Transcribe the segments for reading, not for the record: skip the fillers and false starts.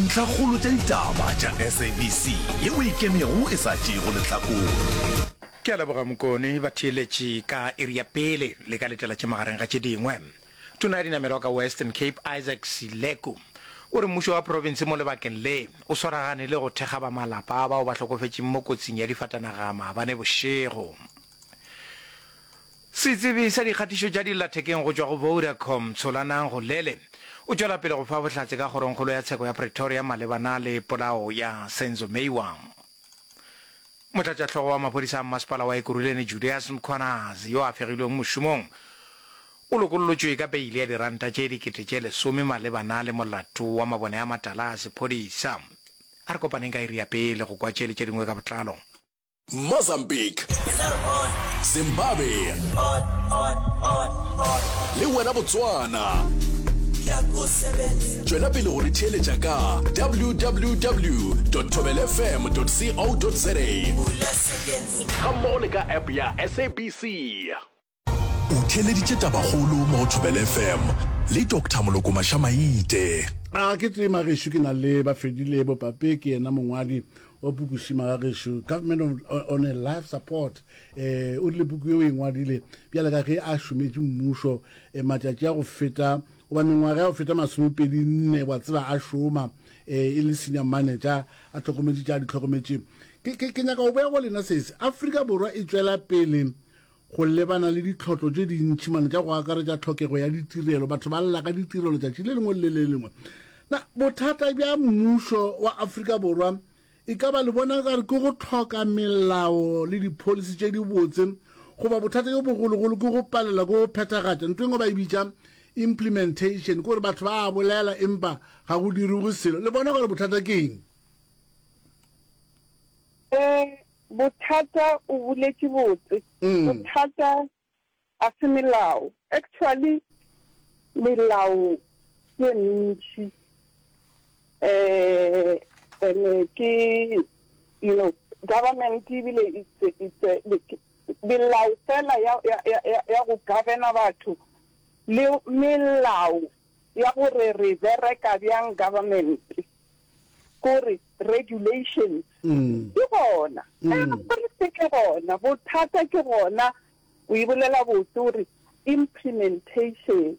Dintlhakgolo tša ditaba tša SABC yeo e ikemego e sa tšeego lehlakore. Ke a leboga Mokone. Batheeletši ka iri ya pele le ka letela tše magareng ga tše dingwe. Tona ya dinamelwa ka Western Cape Isaac Sileku o re mmušo wa profense mo lebakeng le o swaragane le go thekga ba malapa a bao ba hlokofetšeng mo kotsing ya difatanaga maabane bošego. Setsebi sa dikgatišo tša dillathekeng go tšwa go Vodacom, Tsholanang Golele, o tšwela pele go fa bohlatse ka Kgorongkgolo ya Tsheko ya Pretoria malebana le polao ya Senzo Meyiwa. Motlatšahlogo wa maphodisa a mmasepala wa Ekurhuleni Julius Mkhwanazi yo a fegilweng mošomong o lokollotšwe ka beile ya diranta tše 10,000 malebana le molato wa mabone a matala a sephodisa. A re kopaneng ka iri ya pele go kwa tše le tše dingwe ka botlalo. Mozambique, Zimbabwe le wena Botswana. Tšwela pele go re theeletša ka www.thobelfm.co.za gammogo le ka app ya SABC. O theeleditše Tabakgolo mo go Thobela FM le Doctor Moloko Mašamaite. A ke tsee magešo ke na le Bafedile Bopape ke yena mongwadi wa puku Šima ga gešo Government of, on a Life Support eh o rile puku yeo e ngwadile bjale ka ge a šometše mmušo eh, matšatši a go feta goba mengwaga ya go feta masomepedi nne wa tseba a šoma eh, e le senior manager a hlokometše tša di hlokometše ke, ke, ke nyaka go boya go lena sese Afrika Borwa e tšwela pele Go lebana le ditlhotlo tše dintši mane tša go akaretša tlhokego ya ditirelo, batho ba lla ka ditirelo tšatši le lengwe le le lengwe. Na bothata bja mmušo wa Afrika Borwa e ka ba le bona ka re ke go hloka melao le dipholisi tše dibotse goba bothata bjo bogologolo ke go palelwa ke go phethagatša ntho e nngwe ba e bitša implementation, ke gore batho ba a bolela empa ga go dirwe selo. Le bona gore bothata ke eng? Ee, Bothata o boletše botse. Bothata a se melao. Actually melao ke e mentši eh and ke you know government ebile it's it's melao fela ya ya ya go governa batho le melao ya gore re bereka bjang government. Kore regulations di gona, everything e gona, bothata ke gona, o e bolela botse o re implementation.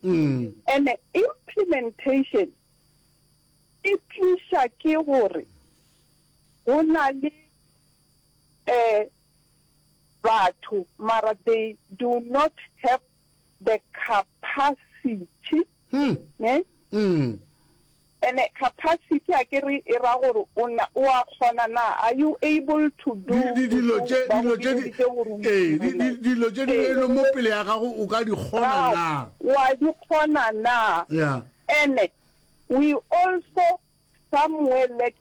And implementation e tliša ke gore go na le batho mara they do not have the capacity ne. Ene capacity akere e ra gore o na o a kgona na, are you able to do Di, di, dilo mošomo tše, ba go dilo tše di, bideditše gore o ee, di, dire? di, dilo tše di Ee. beilwe mo pele ya gago o ka di kgona Gago, na? wa di kgona na? Yeah. Ene we also somewhere lack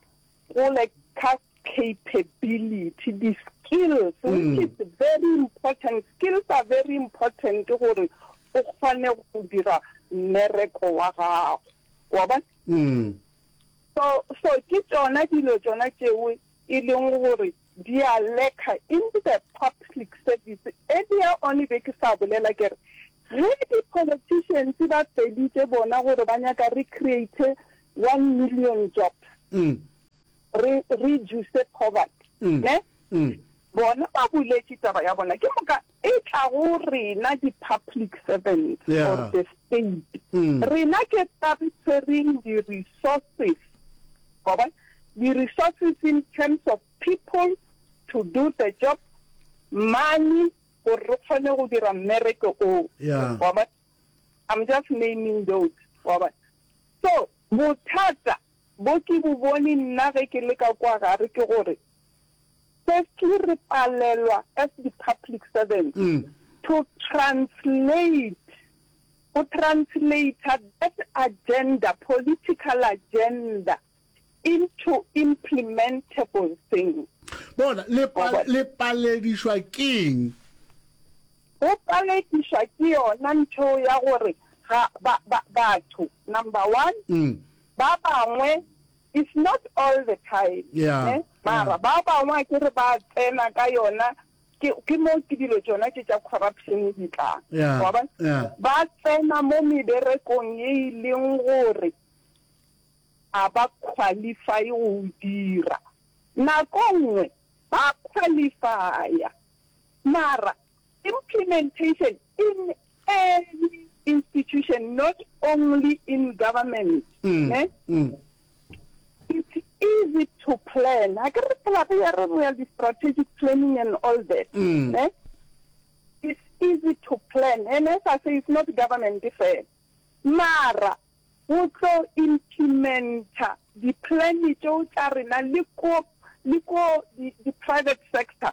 go lack capability, di skills which is very important, skills are very important gore o kgone go dira mmereko wa gago. Wa bona? So, so ke tšona dilo tšona tšeo e leng gore di a lacka in the public service. Earlier on be ke sa bolela ke re, ge di-politicians ba feditše bona gore ba nyaka re create one million jobs, re reduce poverty, ne? Bona ba boletše taba ya bona, ke moka e tla go rena di-public servants or the state. Rena ke ba re tshwereng di-resources, wa bona, di-resources in terms of people to do the job, money gore re kgone go dira mmereko oo, wa bona. I'm just naming those, wa bona. So bothata bo ke bo bone nna ge ke le ka kwa gare ke gore, firstly re palelwa as di public servants to translate, go translater that agenda, political agenda into implementable things. Bona, le pa, le paledišwa keng? Go paledišwa ke yona ntho ya gore ga ba, ba, batho, number one, ba bangwe It's not all the time Yeah, ne mara yeah. ba bangwe akere ba tsena ka yona ke ke mo ke dilo tšona tše tša corruption di tlang Yeah, wa bona yeah. ba tsena mo meberekong ye e leng gore a ba qualify go o dira. Nako nngwe ba qualifya mara implementation in any institution not only in government ne it's easy to plan a ke re phela re ya re re di strategic planning and all that ne it's easy to plan and as I say it's not government fela mara go tlo implementa di plan tšeo tša rena le ko le ko di di private sector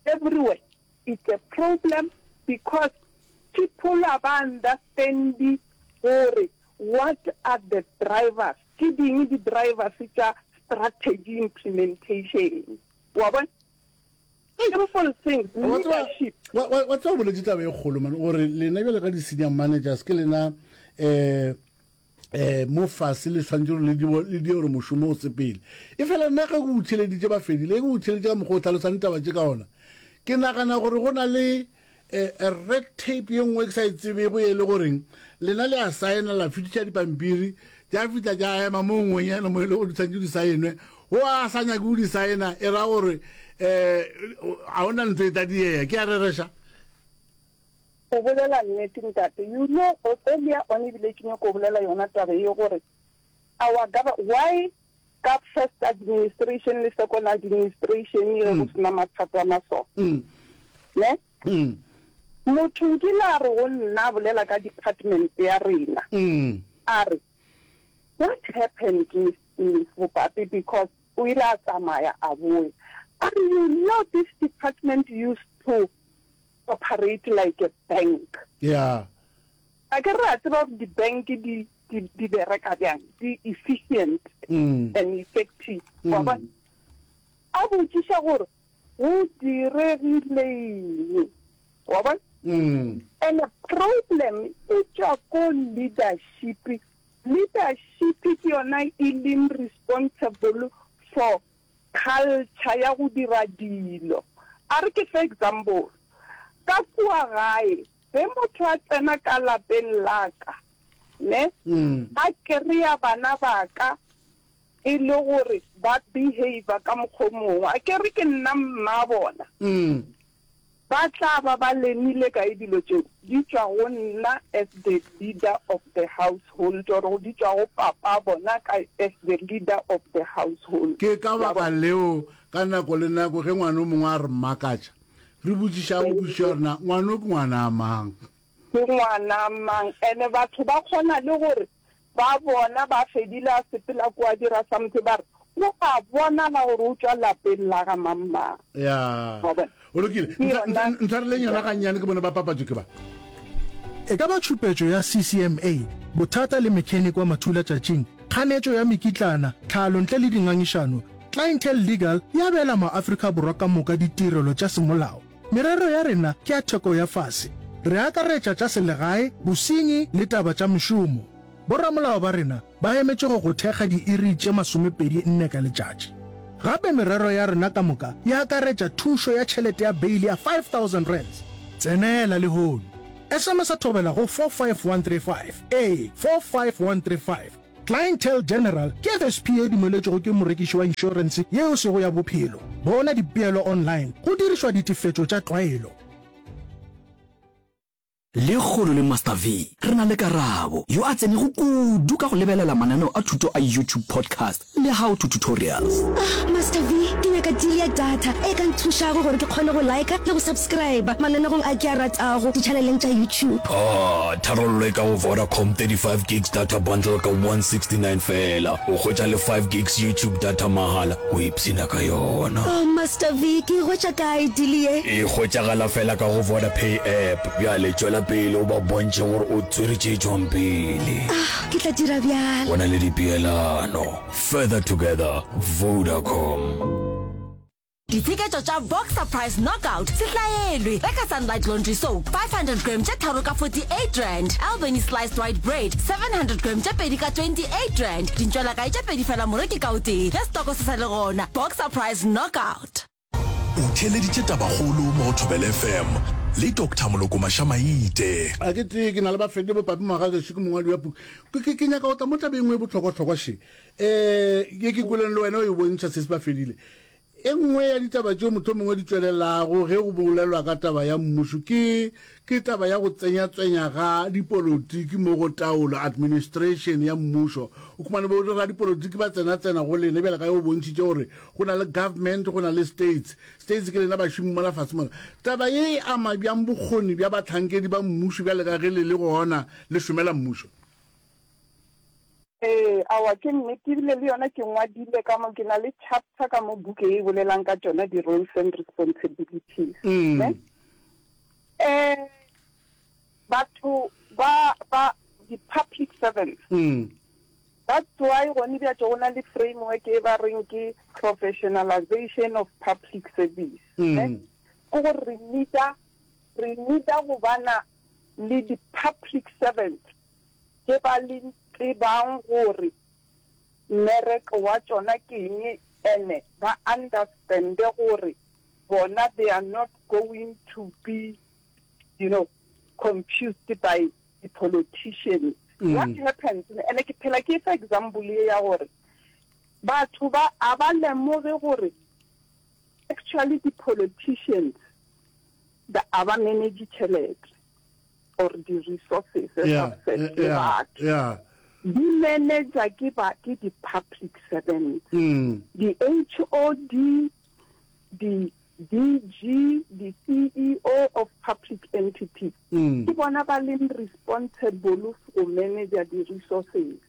everywhere it's a problem because people a ba understandi gore what are the drivers ke ding di drivers tša strategy implementation wa bona simple things leadership wa tseba o boletše taba e kgolo man gore lena bjale ka di-senior managers ke lena um um mo fase le tshwanetse gore le die gore mošomo o sepele e fela nna ge ke o theleditše ba fedile ke o theleditše ka mokgwa o tlhalosang ditaba tše ka ona ke nagana gore go na le eh, red tape ye nngwe ke sa e tsebego e le goreng lena le a saena la fetiša dipampiri tša fihla tša ema mo nngwenyana mo e le gore di tshwanetse di saenwe go a sa nyake go di saena e ra gore um ga ona ntho e tla diea ke a rereša O bolela nnete ntate. You know earlier on ebile ke nyako bolela yona taba ye gore our gov why ka first administration le second administration ge go sena mathata a maso ne motho nkile a re go nna a bolela ka department ya rena a re what happened Miss Miss Bopape because o ile a tsamaya a boya a re you know this department used to operate like a bank. Yeah. A ke re a tseba gore di-bank di, di, di bereka bjang, di efficient mm. and effective. Mm. Wa bona? A botšiša gore go diregileng. Wa bona? Mm. And a problem e tšwa ko leadership. Leadership ke yona e leng responsible for culture ya go dira dilo. A re ke fe example, ka kua gae ge motho a tsena ka lapeng la ka ne, a kereya bana ba ka e le gore ba behaver ka mokgwa o mongwe, a ke re ke nna mma bona. Ba tla ba ba lemile kae dilo tšeo? Di tšwa go nna as the leader of the household or di tšwa go papa bona ka as the leader of the household. Ke ka baka leo ka nako le nako ge ngwana o mongwe a re makatša, re botšišago potšišo ya rena, Ngwana o ke ngwana mang? Ke ngwana mang? And batho ba kgona le gore Ba bona ba fedile a sepela kua dira something ba re o a bonala gore o tšwa lapeng la ga mang mang. Ya. Wa bona? Go lokile. Ke yona. Ntshwareleng yona gannyane ke bone ba papatšo ke ba. E ka ba tšhupetšo ya CCMA, bothata le mechanic wa mathulatšatšing, kganetšo ya mekitlana, tlhalo ntle le dingangišano, Clientele Legal e abela maAfrika Borwa ka moka ditirelo tša semolao. Merero ya rena ke ya theko ya fase. Re akaretša tša selegae, bosenyi le taba tša mešomo. Boramolao ba rena ba emetše go go thekga diiri tše 24 ka letšatši. Gape merero ya rena ka moka e akaretša thušo ya tšhelete ya beili ya R5000. Tsenela lehono. SMS-a Thobela go 45135. Ee, 45135. Clientele General ke FSP ye e dumeletšwego ke morekiši wa inšorense ye e sego ya bophelo. Bona dipeelo online go dirišwa ditefetšo tša tlwaelo. Lekgolo le Master V re na le Karabo, yo a tsenego kudu ka go lebelela mananeo a thuto a YouTube Podcast le How to Tutorials. Ah, Master V, ke nyaka deal ya data e ka nthušago gore ke kgone go liker le go subscriber mananegong a ke a ratago ditšhaneleng tša YouTube. Ah, tharollo e ka go Vodacom 35 gigs data bundle ka 169 feela. O hwetša le 5 gigs YouTube data mahala, o ipshina ka yona. Oh, Master V, ke e hwetša kae deal ye? E hwetšagala feela ka go Vodapay app. Bjale tšwela pele o ba bontšhe gore o tswere tše tšwang pele. Ah, ke tla dira bjalo. Go na le dipeelano. Further together, Vodacom. Ditsheketšo tša Boxer Price Knockout se hlaelwe. Reka Sunlight Laundry Soap 500g tše tharo ka R48, Albany Sliced White Bread 700g tše pedi ka R28, dintšwelakae tše pedi fela moreki ka o tee ge setoko se sa le gona. Boxer Price Knockout. O theeleditše tabakgolo mo go Thobela FM. le Doctor Moloko Mašamaite. A ke tee ke na le bafedi bopapi Mogagešo ke mongwadi wa puku. Ke, ke, ke nyaka go tla mo tabeng e nngwe e bohlokwahlokwa še. Eh, ye ke kweleng le wena o e bontšha sesi Bafedile. E nngwe ya ditaba tšeo mohlomongwe di tšwelelago ge go bolelwa ka taba ya mmušo ke, ke taba ya go tsenyatsenya ga dipolotiki mo go taolo, administration, ya mmušo. O khumane bo radipolotiki ba tsenatsena go lena bjale ka ge o bontšhitše gore go na le government, go na le states. States ke lena bašomi mola fase mola. Taba ye e ama bjang bokgoni bja bahlankedi ba mmušo bjale ka ge le le gona le šomela mmušo? Ee, aowa, ke nnete, ebile le yona ke ngwadile ka mo, ke na le chapter ka mo buke ye e bolelang ka tšona di-roles and responsibilities, ne? Eh, batho ba, ba, di-public servants, that's why gone bjatše go na le framework e ba reng ke professionalization of public service, ne? Ke gore re need-a, re need-a go bana le di-public servants tše ba le tsebang gore mmereko wa tšona ke eng ene ba understande gore bona they are not going to be you know confused by di politicians. What happens ene ke phela ke efa example ye ya gore batho ba a ba lemoge gore actually di politicians a ba manage tšhelete. or di resources Yeah, success le yeah, batho yeah. di manager ke ba ke di public servants di HOD di DG di CEO of public entities ke bona ba leng responsible go manager di resources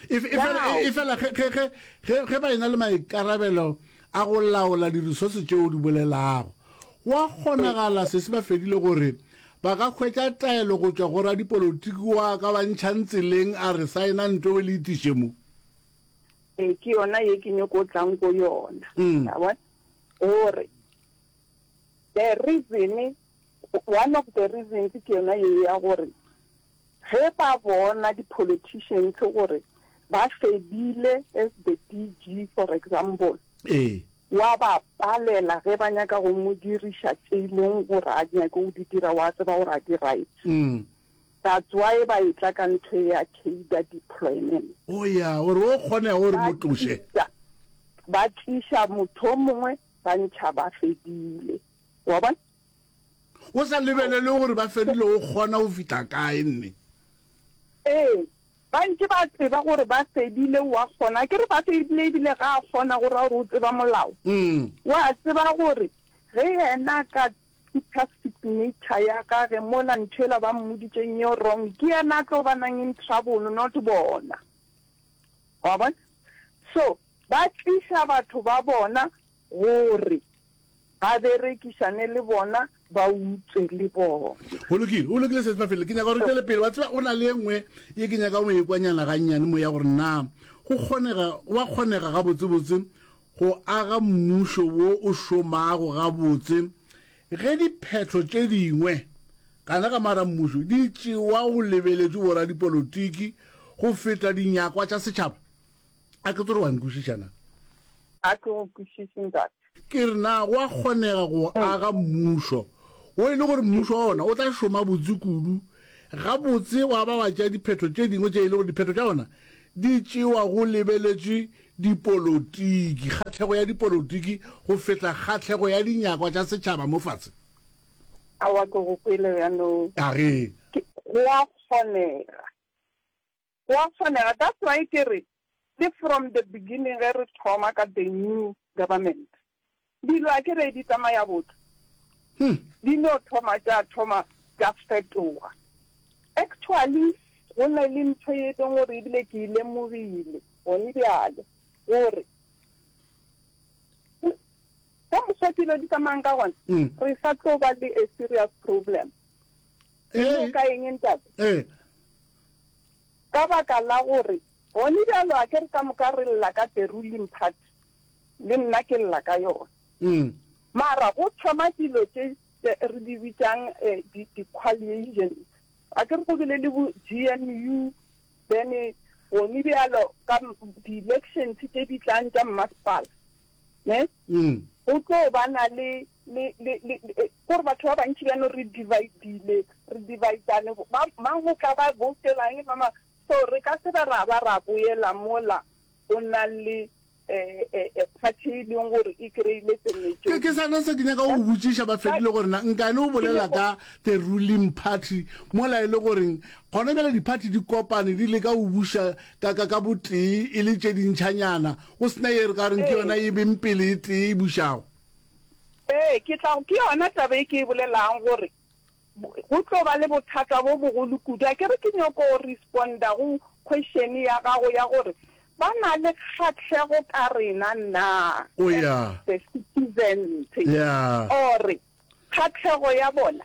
E, e fela, e, e fela ge, ge, ge, ge, ge ba ena le maikarabelo a go laola diresource tšeo di bolelago, go a kgonagala se se ba fedile gore ba ka hwetša taelo go tšwa go radipolotiki wa ka ba ntšhang tseleng a re saena nto le itiše mo. Ee, ke yona ye ke nyoko tlang ko yona. Ya bona? Gore the reason, one of the reasons ke yona ye ya gore Ge ba bona di politicians gore ba fedile as the DG for example, Ee. wa ba palela ge ba nyaka go mo diriša tše e leng gore a di nyake go di dira, wa tseba gore a di right. That's why ba etla ka ntho e ya cadre deployment. Oh ya, gore o kgone gore Ba mo tloše. tliša, ba tliša motho o mongwe ba ntšha ba fedile. Wa bona? O sa lebelele gore ba fedile o kgona go fihla kae nne. Ee, ba ntše ba tseba gore ba fedile o a kgona. Akere ba fedile ebile ga a kgona go ra gore o tseba molao. Wa tseba gore ge yena a ka putha signature ya gage mola ntho yela ba mmoditšeng ye wrong, ke yena a tlo banang in trouble not bona. Wa bona? So ba tliša batho ba bona gore Ba berekišane le bona, ba utswe le bona. Go lokile, go lokile Sesi Mafele. Ke nyaka gore tšwele pele. Wa tseba, go na le e nngwe ye ke nyaka go e kwanyana gannyane mo ya gore na go kgonega, go a kgonega gabotsebotse go aga mmušo wo o šomago gabotse ge diphetho tše dingwe gana ka mara mmušo di tšewa go lebeletšwe boradipolotiki go feta dinyakwa tša setšhaba. A ke tsore wa nkwešiša na? A ke go kwešiše, ntate. Ke re, na go a kgonega go aga mmušo wo e le gore mmušo wa ona o tla šoma botse kudu, gabotse wa ba wa tšea diphetho tše dingwe tše e le gore diphetho tša ona di tšewa go lebeletšwe dipolotiki, kgahlego ya dipolotiki go feta kgahlego ya dinyakwa tša setšhaba mo fase? Aowa, ke go kwele bjalo. A ge. Go a kgonega. Go a kgonega, that's why ke re le from the beginning ge re thoma ka the new government, dilo a ke re di tsamaya botse, di no thoma tša thoma tša fetoga. Actually go na le ntho ye e leng gore ebile ke e lemogile gone bjale gore ka mokgwa dilo di tsamayang ka gona, re sa tlo ba le a serious problem. Ke ka eng ntate? Ka baka la gore gone bjalo a ke re ka moka re lla ka the ruling party, le nna ke lla ka yona. Mara go thoma dilo tše re di bitšang di di-coalitions, a ke re go bile le bo GNU, then gone bjalo ka di-elections tše di tlang tša mmasepala, ne, go tlo ba na le. Le, le, le, le, kore batho ba bantši bjano re dividile, re dividane, ba, mang o tla ba voutela eng, ba mang. So re ka se be ra ba ra boela mola go na le eh, eh, eh, party e leng gore e kry-ile the Ke, ke majority. sona se ke nyaka go go botšiša, ba fedile gore na nkane o bolela ka the ruling party mola e le goreng gona bjale di-party di kopane di leka go buša ka, ka, ka botee e le tše dintšhanyana, go se na ye re ka reng ke yona e beng pele e tee e bušago. Ee, ke tla, ke yona taba e ke e bolelang gore go tlo ba le bothata bo bogolo kudu. Akere ke nyoko responda go question ya gago ya gore ba na le kgahlego ka rena na Oh as yeah. the citizens Yeah. or kgahlego ya bona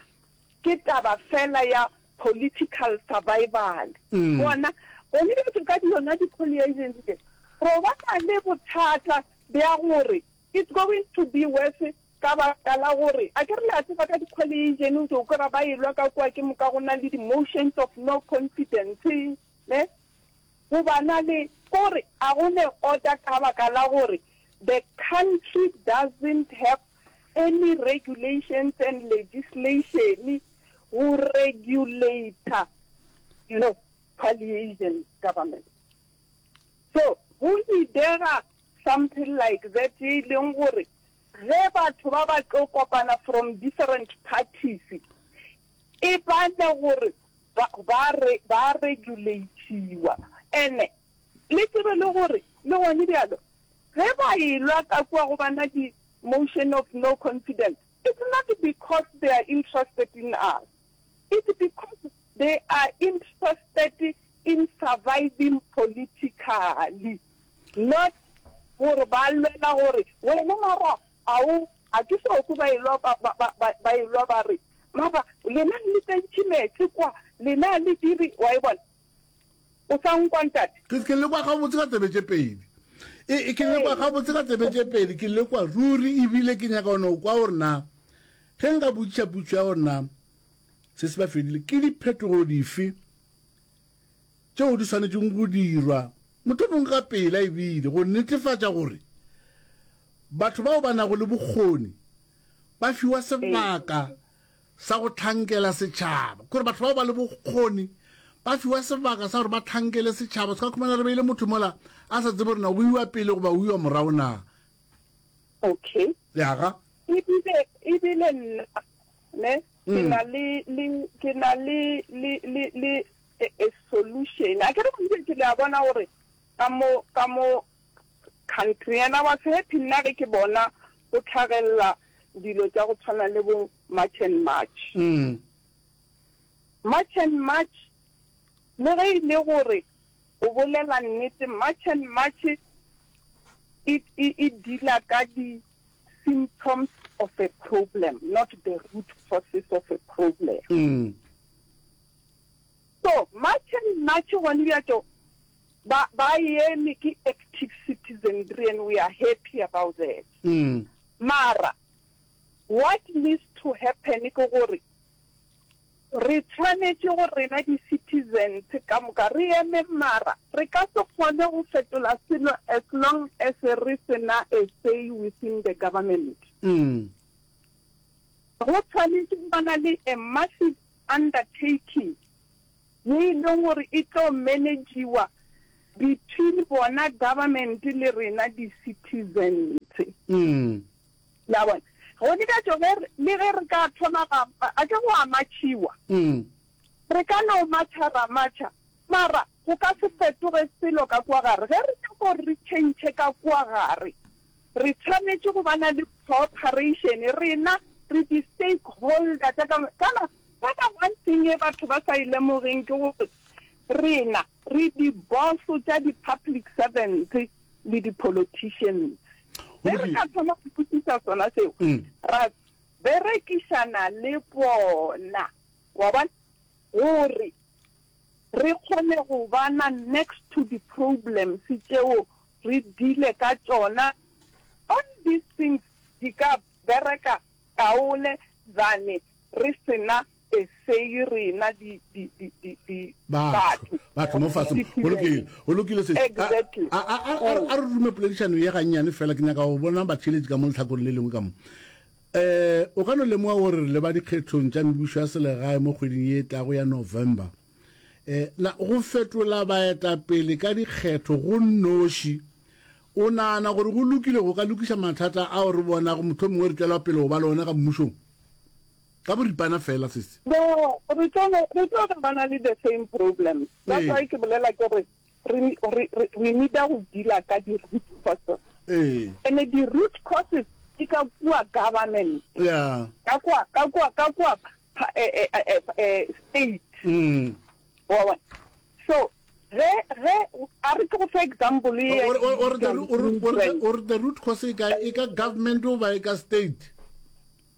ke taba fela ya political survival. Bona, gone bjalo ka yona di-coalitions tše, ro ba na le bothata bja gore It's going to be worse ka baka la gore akere le a tseba ka di-coalition o tlo kwera ba elwa ka kua ke moka go na le di-motions of no confidence ne go ba na le kore a go ne order ka baka la gore the country doesn't have any regulations and legislation go regulator you know coalition government so go needega Something like that ye e leng gore ge batho ba ba tlo kopana from different parties e bane gore ba ba re ba regulatiwa. Ene le tsebe le gore le gone bjalo ge ba elwa ka kua go bana di motion of no confidence it's not because they are interested in us it's because they are interested in surviving politically not gore ba lwela gore wena mara a o a ke so kwe ba elwa ba ba ba ba ba elwa ba re mara lena le tsentšhe meetse kwa lena le dire wa e bona o sa nkwa ntate. Ke ke lekwa gabotse ka tsebe tše pedi. E, e ke lekwa gabotse ka tsebe tše pedi, ke lekwa ruri ebile ke nyaka go no kwa gore na ge nka botšiša potšo ya gore na se se ba fedile ke diphetogo dife tšeo di swanetšego go dirwa mohlomongwe ka pela ebile go netefatša gore batho bao ba nago le bokgoni ba fiwa sebaka sa go hlankela setšhaba. Kore batho bao ba le bokgoni ba fiwa sebaka sa gore ba hlankele setšhaba. Se ka khumana re beile motho mola a sa tsebe gore na o iwa pele goba o iwa morago na. Okay. Yaga. Ebile ebile nna ne ke na le le ke na le le le le a, a solution. A ke re ke le a bona gore ka mo ka mo country and I was happy nna ge ke bona go tlhagelela dilo tša go tshwana le bo March and March. Mm. March and March le ge e le gore o bolela nnete March and March e e e deala ka di symptoms of a problem not the root causes of a problem. Mm. So March and March gone bjatšo ba ba eme ke active citizenry and we are happy about that. Mm. Mara what needs to happen ke gore Re tshwanetše gore rena di-citizens ka moka re eme mara re ka se kgone go fetola selo as long as re se na a say within the government. Go tshwanetše go bana le a massive undertaking ye e leng gore e tlo managiwa between bona government le rena di-citizens. Le a bona? Gone bjatšo ge re, le ge re ka thoma ra, a ke go a matšhiwa. Re ka no matšha ra matšha, mara go ka se fetoge selo ka kua gare. Ge re nyaka gore re tšhentšhe ka kua gare, re tshwanetše go ba na le cooperation. Rena re di-stakeholder tša ka, kana, kana one thing e batho ba sa e lemogeng ke gore rena re di-boss tša di-public servants le di-politicians. Ge re ka thoma go kwešiša sona seo, ra berekišana le bona, wa bona, gore re kgone go bana next to di-problems tšeo re deale ka tšona, all these things di ka bereka kaone than re se na a say rena di, di, di, di, di, batho batho batho mo fase go lokile go lokile se Exactly. a a a a re rume poledišano ye gannyane fela ke nyaka go bona batheeletši ka mo lehlakoreng le lengwe ka mo. Eh, o ka no lemoga gore re leba dikgethong tša mebušo ya selegae mo kgweding ye e tlago ya November. Eh, na go fetola baetapele ka dikgetho go nnoši, o nagana gore go lokile go ka lokiša mathata ao re bonago mohlomongwe re tšwela pele go ba le ona ka mmušong? Ka boripana feela, sesi. No, re tlo re tlo ba na le the same problems. That's why ke bolela ke re re re re re need-a go dealer ka di root causes. Ee. Ene di root causes di ka kua government. Yeah. Ka kua ka kua ka kua eh, eh, eh, eh, state. Mm. Wa bona? So ge ge a re ke go fe example ye Or or or the or or or the root cause e ka e ka government goba e ka state.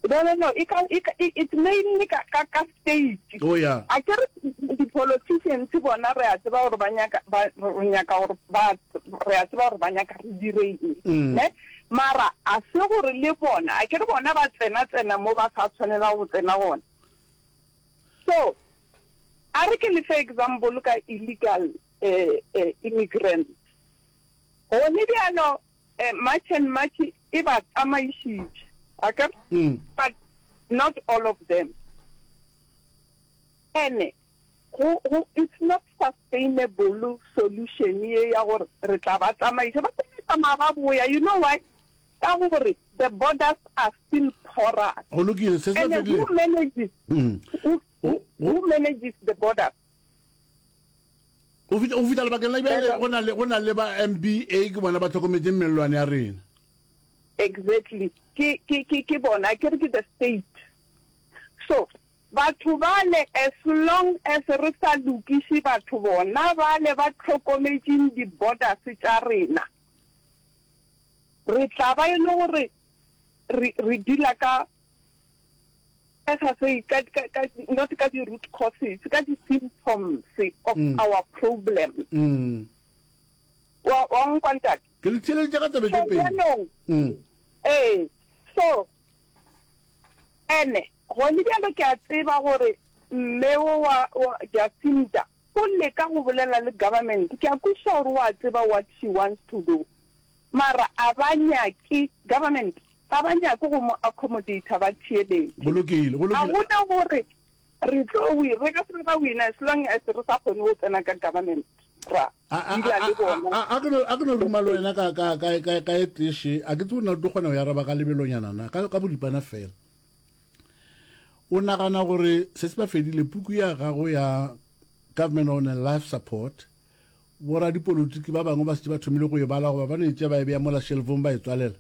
No, no, no, e ka, e ka, it's mainly ka, ka, ka state. Oh, yeah. A ke re di-politicians bona re a tseba gore ba nyaka, ba, re nyaka gore ba, re a tseba gore ba nyaka re dire eng, Mm. ne? Mara a se gore le bona, a ke re bona ba tsena-tsena mo ba sa tshwanela go tsena gona. So, a re ke le fe example ka illegal eh, eh, immigrants. Gone bjalo March and March e ba tsamaišitše, akere? But not all of them. Ene go, go, it's not sustainable solution ye ya gore re tla ba tsamaiša. Ba tla tsamaya ba boya, you know why? Ka gore the borders are still porous. Go lokile, se se Ene fedile. who manages, who, who, who manages the borders? Go fihla, go fihla lebakeng la bjale go na le, go na le ba MBA ke bona ba hlokometšeng mellwane ya rena. Exactly. Ke, ke, ke, ke bona, ke re ke the state. So, batho bale as long as re sa lokiše batho bona bale ba hlokometšeng di-borders tša rena, re tla ba e le gore re, re dealer ka As I say, ka, ka, ka, not ka di-root causes, ka di-symptoms of Mm. our problems. Mm. Wa, wa nkwa ntate? Ke le theeleditše ka tsebe So tše pedi. bjanong, Mm. ee, so, ene, gone bjalo ke a tseba gore mme wo wa, wa Jacinta o leka go bolela le government. Ke a kwešiša gore o a tseba what she wants to do. Mara a ba nyake, government, ga ba nyake go mo accommodate-a ba theeletše. Go lokile, go Ga lokile. go na gore re tlo win, re ka se be ra wina as long as re sa kgone go tsena ka government ra A, a, dealer a, le a, bona. a, a ke no, a ke no ruma le wena ka, ka, ka, ka, ka e tee A ke tsebe na o tlo kgona go e araba ka lebelonyana na, ka, ka boripana fela. O nagana gore se se ba fedile puku ya gago ya Government on a Life Support, Boradipolotiki ba bangwe ba šetše ba thomile go e bala goba ba no e tšea ba e bea mola shelfong ba e tswalela?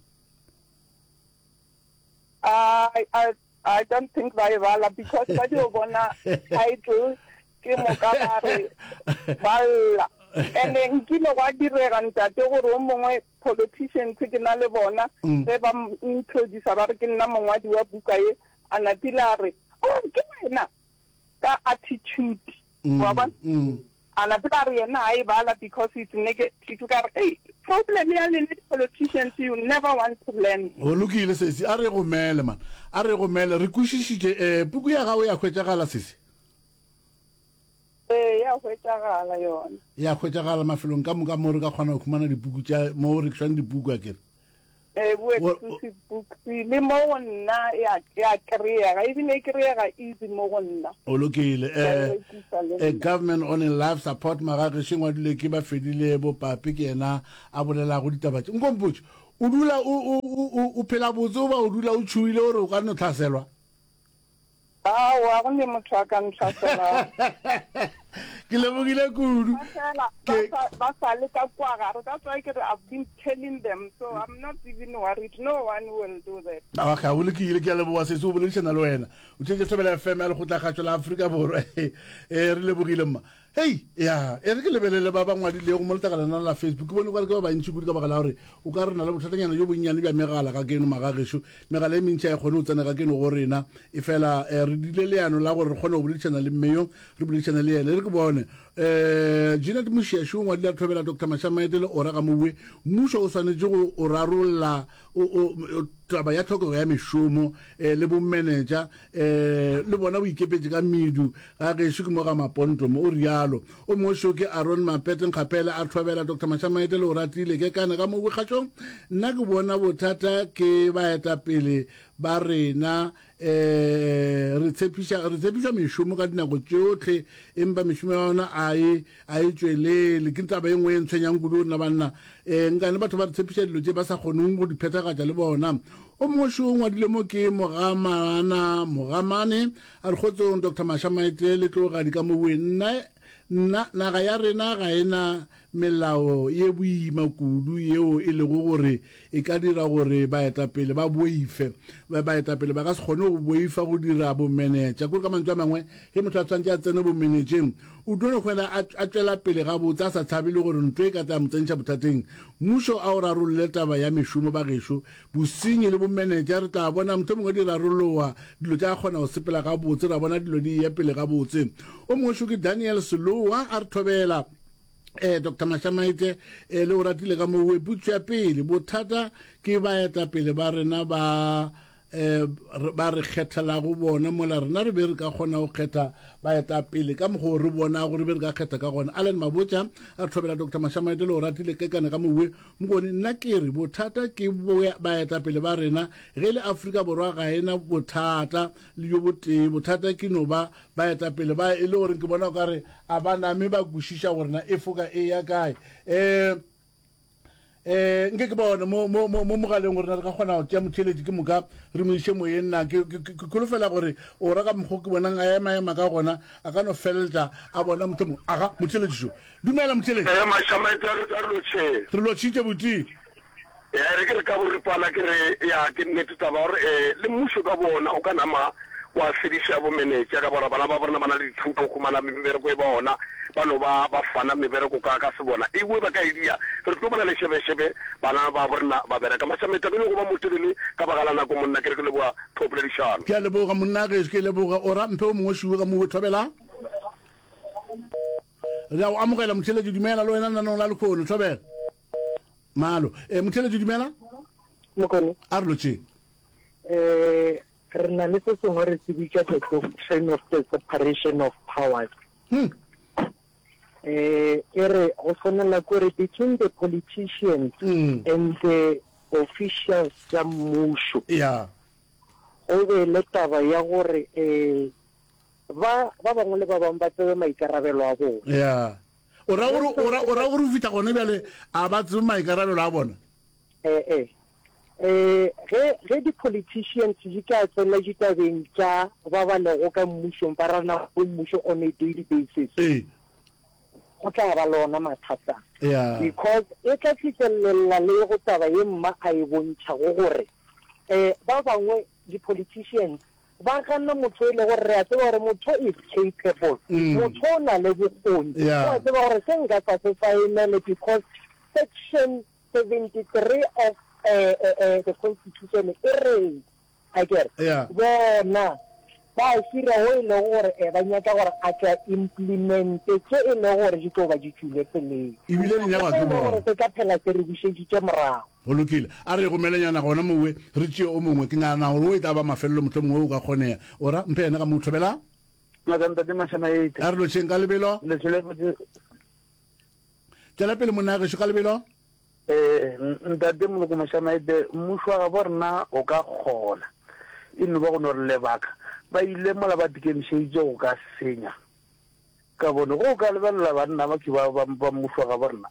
I, I, I don't think ba e bala because ba dio bona title ke moka ba re ba lla. And-e nkile gwa direga ntate gore o mongwe politicians ke na le bona ge ba introducer ba re ke nna mongwadi wa buka ye, a napile a re, Oh, ke wena? Ka attitude, wa bona? A na tseba re yena ha e bala because it's negative ka re ei problem ya lena di politicians you never want to learn. Go lokile sesi, a re gomele man, a re gomele, re kwešišitše. Eh, puku ya gago ya hwetšagala sesi? Ee, ya hwetšagala yona. Ya hwetšagala mafelong ka moka mo re ka kgona go humana dipuku tša mo go rekišwang dipuku akere? Ee, bo Exclusive Books le mo go nna ya ya kry-ega ebile e kry-ega easy mo go nna. O lokile. Ke a e Eh, rekisa le eh, nna. Government on a Life Support Magagešo e ngwadilwe ke Bafedile Bopape ke yena a bolelago ditaba tše. Nko mpotše, o dula o, o, o, o, o phela botse goba o dula o tšhohile gore o ka no hlaselwa? Aowa, go ne motho a ka ntlhaselago. Ke lebogile kudu. Ba fela ba sa ba sa le ka kua gare. That's why ke re I've been telling them, so I'm not even worried. No one will do that. Okay, go lokile, ke a leboga sesi go boledišana le wena. O theetša Thobela FM ya Lekgotlakgašo la Afrika Borwa. Eh, re lebogile mma. Hei, ya, e re ke lebelele ba ba ngwadilego mo letlakaleng la la Facebook. Ke bone o ka re ke ba bantši kudu ka baka la gore o ka re na le bothatanyana bjo bonnyane bja megala ka keno magagešo. Megala e mentši ga e kgone go tsena ka keno go rena. Efela eh, re dile leano la gore re kgone go boledišana le mme yo, re boledišane le yena. E re ke bone. Eh, Jeanette Moshiaši o ngwadile a thobela Doctor Mashamaete le Ora Gamoue, mmušo o swanetše go o rarolla o, o, o. Taba ya tlhokego ya mešomo eh, le bomenetša eh, le bona bo ikepetše ka medu ga gešo ke mo ga Maponto mo, o realo. O mongwe šo ke Aron Mapete Nkgapele a thobela Doctor Mashamaite le Oratile Kekana ka mo bokgatšong. Nna ke bona bothata ke baetapele ba rena eh, re tshepiša re tshepišwa mešomo ka dinako tšohle empa mešomo ya yona a e a e tšwelele. Ke taba e nngwe e ntshwenyang kudu rena banna. Um nkane batho ba re tshepiša dilo tše ba sa kgoneng go di phethagatša le bona. O mongwe šo o ngwadile mo ke Mogamana Mogamane a re kgotsong Doctor Mashamaite le tlogadi ka mowe nna nna naga ya rena ga e na melao ye boima kudu yeo e lego gore e ka dira gore baetapele ba boife. Baetapele ba ka se kgone go boifa go dira bomenetša. Kore ka mantšu a mangwe, ge motho a tshwanetše a tsene bomenetšeng, o tlo no hwela a, a tšwela pele gabotse a sa tshabe le gore ntlo e ka tla mo tsentšha bothateng. Mmušo a o rarolle taba ya mešomo bagešo. Bosenyi le bomenetša re tla bona mohlomongwe di rarologa, dilo tša kgona go sepela gabotse, ra bona dilo di eya pele gabotse. O mongwe šo ke Daniel Selowa a re thobela. Eh, Doctor Mashamaite, eh, le o ratile ka mowe. Potso ya pele, bothata ke baetapele ba rena ba eh, ba re kgethelago bona mola rena re be re ka kgona go kgetha baetapele ka mokgwa o re bonago re be re ka kgetha ka gona. Allen Mabotja a re thobela Doctor Mashamaite le o ratile kekane ka mowe. Mokone, nna ke re bothata ke baetapele ba rena. Ge e le Afrika Borwa ga e na bothata le bjo botee, bothata ke no ba Baetapele ba e le gore ke bona o ka re a ba name ba kwešiša gore na e foka e ya kae. Um um nke ke bone mo mo mo mo mogaleng gore na re ka kgona go tšea motheeletši ke moka re mo iše moyeng na. Ke ke ke kholofela gore o ra ka mokgo ke bonang a ema ema ka gona a ka no feleletša a bona mohlomong. Aga motheeletši šo. Dumela motheeletši. Ee, Mašamaite a re a re lotšheng. Re lotšhitše buti. Ya re ke re ka boripana ke re ya ke nnete taba gore eh, le mmušo ka bona o ka nama wa fediša bomenetša ka bora bana ba borena ba na le dithuto go humana mebereko e bona ba no ba ba fana mebereko ka ka sebona ewe ba ka e dia re tlo bona lešebešebe bana ba borena ba bereka Mašameta ke nyoko ba motelele ka baka la nako monna ke re ke leboga thopoledišano. Ke a leboga monna gešo ke leboga o ra mphe o mongwe šuwe ka mowe thobela. Re a o amogela motheletši dumela le wena lenanong la lekhono thobela. Malo. Eh, motheletši dumela. Mokone. A re lotšeng. Eh, re na le se sengwe re se bitša the doctrine of the separation of powers. Hmm. Eh, e re go swanela kore between the politicians mm. and the officials tša mmušo. Yeah. Go be le taba ya gore eh ba ba bangwe le ba bangwe ba tsebe maikarabelo a bona. Yeah. O ra gore o ra o ra gore o fihla gone bjale a ba tsebe maikarabelo a bona? Eh eh. Eh ge ge di politicians di ka tsena ditabeng tša ba ba lego ka mmušong ba rana go mmušo on a daily basis. Ee. Go tla ba le ona mathata. Yeah. Because e tla fihlelella le go taba ye mma a e bontšhago gore eh ba bangwe di politicians Ba gana motho e le gore re a tseba gore motho is capable, motho o na le bokgoni, o a tseba gore se nka sa se saenele because section 73 of the constitution e reng, akere? Bona ba hira wo e lego gore ba nyaka gore a tle a implemente tše e lego gore di tlo ba di tšwile tseleng. Ebile di nyakwa ke bona. Gore se tla phela se re bušeditše morago. Go lokile. A re gomelenyana gona mowe, re tšee o mongwe. Ke nagana gore o e tla ba mafelelo, mohlomongwe o ka kgonega. O ra, mphe yena ka mo thobela. Ngaka Ntate Mashamaite. A re lotšheng ka lebelo. Le tšwele botse. Tšwela pele monna gešo ka lebelo. Eh, Ntate Moloko Mashamaite, mmušo wa gabo rena o ka kgona. E no ba go no re lebaka. Ba ile mola ba tikemišeditše go ka senya. Ka bone, ge o ka lebelela banna ba ke ba, ba, ba mmušo wa gabo rena,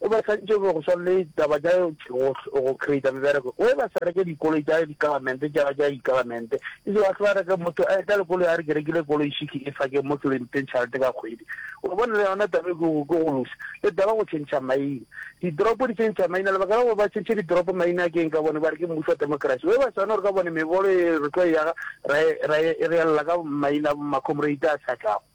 o ba santše go swana le taba tša go, go creata mebereko. O e ba sa reke dikoloi tša di-government, tša, tša di-government. E se ba hle ba reke motho a etla le koloi a re ke rekile koloi šiki e fa ke mo ke lo mpeng tšhelete ka kgwedi. O bone le yona taba e ke go, ke go losa. Le taba go tšhentšha maina. Ditoropo di tšhentšha maina, lebaka la gore ba tšhentšhe ditoropo maina ke eng ka bone ba re ke mmušo wa democracy. O e ba swana gore ka bone mebolo e re tlo e yaga ra e, ra e reella ka maina a bo ma-comrade a sa tlago.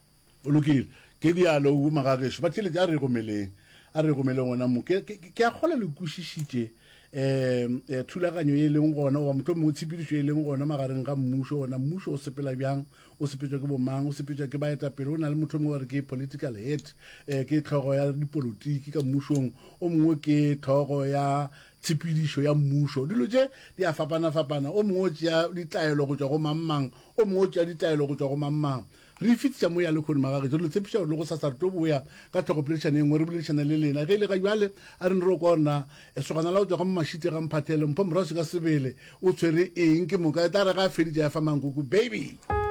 Go lokile. Ke dialo o magagešo. Ba theeletše, a re gomeleng. A re gomeleng gona mo. Ke, ke, ke a kgolwa le kwešišitše. um thulaganyo e leng gona goba mohlomongwe mongwe tshepedišo e leng gona magareng ga mmušo gona mmušo o sepela bjang o sepetšwa ke bomang o sepetšwa ke baetapele o na le motho mongwe ba re ke political head um ke tlhogo ya dipolotiki ka mmušong o mongwe ke tlhogo ya tshepedišo ya mmušo dilo tše di a fapana-fapana o mongwe o tšea ditaelo go tšwa go mang-mang o mongwe o tšea ditaelo go tšwa go mang-mang Re e fetiša mo ya lehono, magagešo. Re le tshepiša gore le gosasa re tlo boya ka tlhogopoledišano e nngwe re boledišana le lena. Ge e le ga bjale, a re no re kwa gore na lesogana la go tšwa ga Mmašite ga Mphathele, Mpho Moraswi ka sebele o tshwere eng. Ke moka e tla re ge a feditše a fa mankoko, baby.